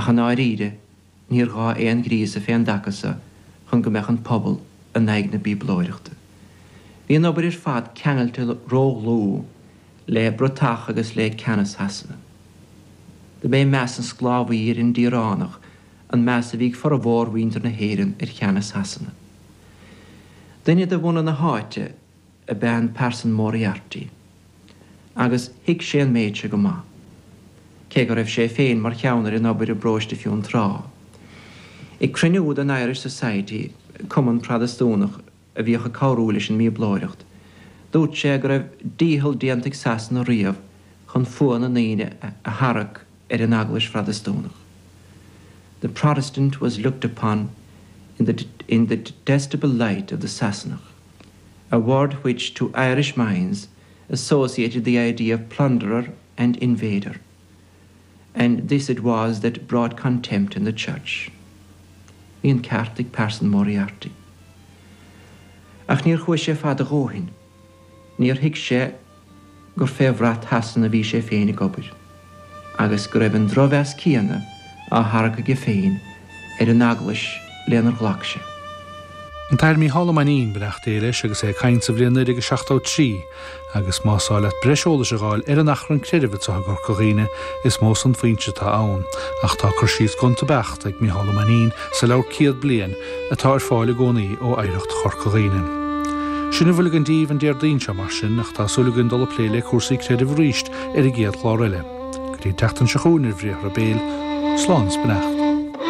Ach i ndáiríre, níor ghá aon ghríosadh fén dtaca so chun go mbeadh an pobal in aghaidh na bíoblóireachta. Bhí an obair ar fad ceangailte ródhlúth le bratach agus le ceannas Shasana. Dob é meas an sclábhaí ar an daoránach an meas a bhí ag formhór mhuintir na hÉireann ar cheannas Shasana. Duine de bhunadh na háite ab ea an Pearson Moriarty agus thuig sé an méid seo go maith, cé go raibh sé féin mar cheann ar an obair i bparóiste Fionntrá. Ag cruinniú den Irish Society, cumann Protastúnach a bhíodh ag cabhrú leis an mBíoblóireacht, dúirt sé go raibh dícheall déanta ag Sasana riamh chun fuath na ndaoine a tharrac ar an Eaglais Phrotastúnach. The Protestant was looked upon in the in the detestable light of the Sassanach, a word which to Irish minds associated the idea of plunderer and invader. And this it was that brought contempt in the church. Bhí an ceart ag Pearson Moriarty. Ach níor chuaigh sé fada a dhóthain. Níor thuig sé gur fé bhrat Shasana a bhí sé féin ag obair, agus go raibh an drochmheas céanna á tharrac aige féin ar an Eaglais lenar ghlac sé. An tAthair Mícheál Ó Mainnín, beannacht Dé leis, agus é ag caint sa bhliain 1973, agus más áil leat breis eolais a dh'fháil ar an achrann creidimh anseo i gCorca Dhuibhne, is mó san foinse atá ann, ach tá cur síos gonta beacht ag Mícheál Ó Mainnín sa leabhar Céad Bliain, atá ar fáil i gcónaí ó Oidhreacht Chorca Dhuibhne. Sin a bhfuil againn daoibh an Déardaoin seo, mar sin, ach tá súil againn dul ag plé le cúrsaí creidimh arís ar an gcéad chlár eile. Go dtí an tseachtain seo chugainn ar Bhriathra Béil, slán is beannacht.